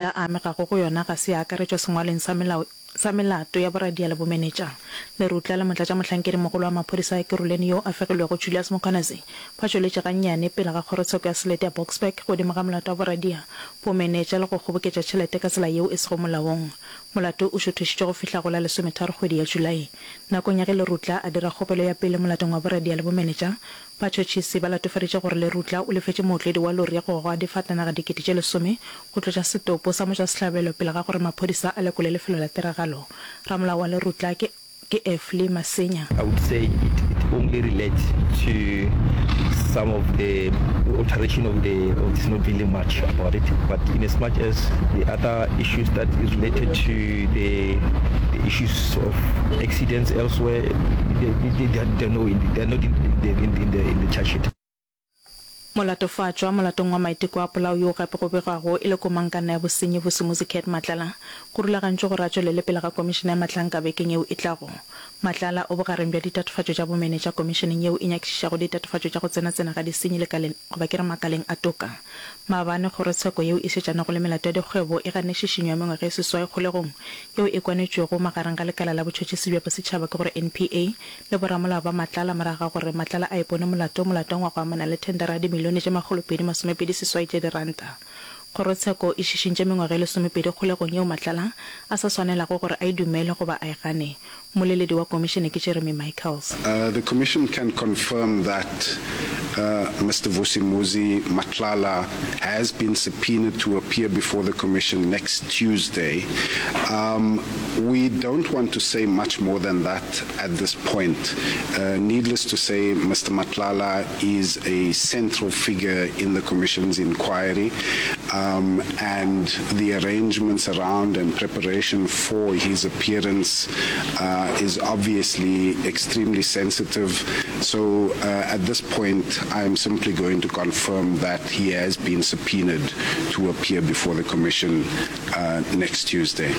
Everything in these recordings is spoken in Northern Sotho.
A amegago go yona ga se ya akaretšwa sengwalweng sa melao sa melato ya boradia le bomenetša. Lerutla le motlatšamohlankedi-mogolo wa maphodisa a Ekurhuleni yo a fegilwego Julius Mkhwanazi ba tšweletše gannyane pele ga kgorotsheko ya selete ya Boksburg godimo ga molato wa boradia, bomenetša le go kgoboketša tšhelete ka tsela yeo e sego molaong. Molato o šuthišitšwe go fihla go la lesometharo kgwedi ya Julae. Nakong ya ge Lerutla a dira kgopelo ya pele molatong wa boradia le bomenetša, Batšhotšhisi ba latofaditše gore Lerutla o lefetše mootledi wa lori ya go goga difatanaga 10,000 go tlotša setopo sa motšwasehlabelo pele ga gore maphodisa a lekole lefelo la tiragalo. Ramolao wa Lerutla ke ke Efly Masenya. I would say it it only relates to some of the alteration of the of it's not really much about it but in as much as the other issues that is related to the the issues of accidents elsewhere they, they, they, they, no, they are not in the, in, in the, in the charge sheet. Molatofatšwa molatong wa maiteko a polao yoo gape go begwago e le komangkanna ya bosenyi Vusimuzi Cat Matlala, go rulagantšwe gore a tšwelele pele ga komišene ya Mahlanka bekeng yeo e tlago. Matlala o bogareng bja ditatofatšo tša bomenetša komišeneng yeo e nyakišišago ditatofatšo tša go tsenatsena ga disenyi lekaleng goba ke re makaleng a toka. Maabane kgorotsheko yeo e šetšanago le melato ya dikgwebo e ganne šišinyo ya mengwaga e seswai kgolegong yeo e kwanetšwego magareng ga lekala la botšhotšhisi bja bosetšhaba ke gore NPA le boramolao ba Matlala morago ga gore Matlala a ipone molato molatong wa go amana le thendara ya dimilione tše 228 tša diranta. Kgorotsheko e šišintše mengwaga e lesomepedi kgolegong yeo Matlala a sa swanelago gore a e dumele goba a e gane. Mmoleledi wa komišene ke Jeremy Michaels. The Commission can confirm that Mister Vusimuzi Matlala has been subpoenaed to appear before the Commission next Tuesday. Um, we don't want to say much more than that at this point. Uh, needless to say, Mr. Matlala is a central figure in the Commission's inquiry, um, and the arrangements around and preparation for his appearance uh, is obviously extremely sensitive. So uh, at this point, I am simply going to confirm that he has been subpoenaed to appear before the Commission uh, next Tuesday.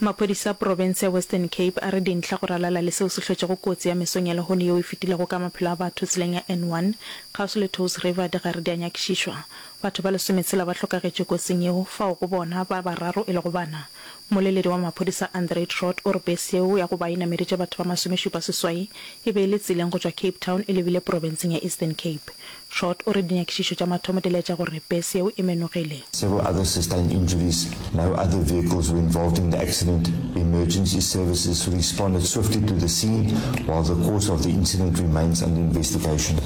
Maphodisa a profense ya Western Cape a re dintlha go ralala le seo se hlotšego kotsi ya mesong ya lehono yeo e fetilego ka maphelo a batho tseleng ya N1 kgauswi le Touws River di gare di a nyakišišwa. Batho ba lesometshela ba hlokagetše kotsing yeo, fao go bona ba bararo e lego bana. Mmoleledi wa maphodisa Andre Trott o re bese yeo ya go ba e nameditše batho ba masomešupa seswai e be e le tseleng go tšwa Cape Town e lebile profenseng ya Eastern Cape. Trott o re dinyakišišo tša mathomo di laetša gore bese yeo e menogile. Several others sustained injuries. No other vehicles were involved in the accident. Emergency services responded swiftly to the scene while the cause of the incident remains under investigation.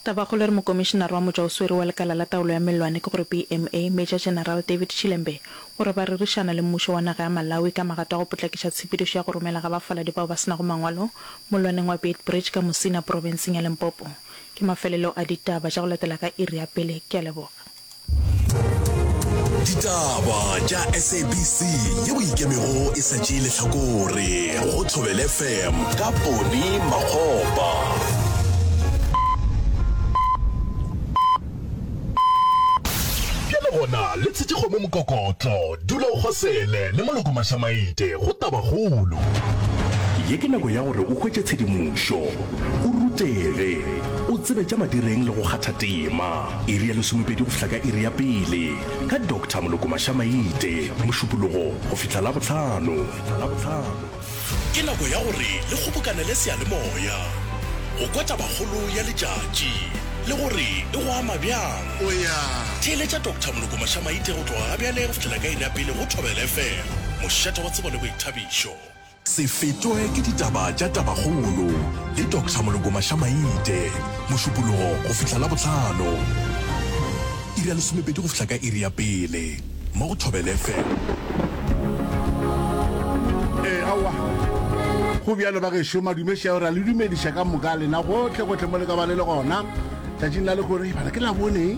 Tabakgolo e re Mokomišenare wa Motšwaoswere wa Lekala la Taolo ya Mellwane ke gore BMA, Major General David Chilembe, o re ba rerišana le mmušo wa naga ya Malawi ka magato a go potlakiša tshepedišo ya go romela ga bafaladi bao ba se nago mangwalo mollwaneng wa Beitbridge ka Musina profenseng ya Limpopo. Ke mafelelo a ditaba tša go latela ka iri ya pele. Ke a leboga. Ditaba tša SABC ye bo ikemego e sa tšee lehlakore go Thobela FM ka Poni Makgopa. Bjale gona le tshetše kgomo mokokotlo, dula o kgosele le Moloko Mašamaite go Tabakgolo. Ye ke nako ya gore o hwetše tshedimošo, o rutege, o tsebe tša madireng le go kgatha tema. Iri ya lesomepedi go fihla ka iri ya pele ka Doctor Moloko Mašamaite, Mošupologo go fihla Labohlano. Ke nako ya gore le kgobokanele seyalemoya go kwa tabakgolo ya letšatši le gore e go ama bjang. Theeletša Doctor Moloko Mašamaite go tloga gabjale go fihlela ka iri ya pele go Thobela FM, mošate wa tsebo le boithabišo. Se fetwe ke ditaba tša tabakgolo le Doctor Moloko Mašamaite, Mošupologo go fihla Labohlano, iri ya lesomepedi go fihla ka iri ya pele, mo go Thobela FM. Ee, aowa. Go bjalo bagešo, madume šeo, ra le dumediša ka moka lena gohle gohle mo le ka ba le le gona tšatšing la lehono. Ee, bana ke Labone.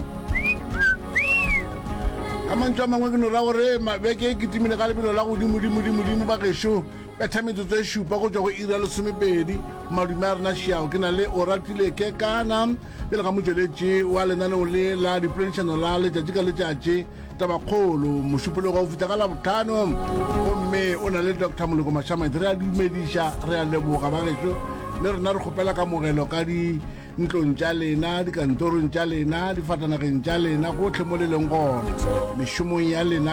Ka mantšu a mangwe ke no ra gore beke e kitimile ka lebelo la godimodimodimodimo bagešo. Betha metsotso e šupa go tšwa go iri ya lesomepedi. Madume a rena šiao ke na le Oratile Kekana pele ga motšweletši wa lenaneo le la dipoledišano la letšatši ka letšatši Tabakgolo Mošupologo go fihla ka Labohlano gomme o na le Doctor Moloko Mašamaite. Re a dumediša, re a leboga bagešo le rena re kgopela kamogelo ka di. Ntlong tša lena, dikantorong tša lena, difatanageng tša lena, gohle mo le leng gona, mešomong ya lena.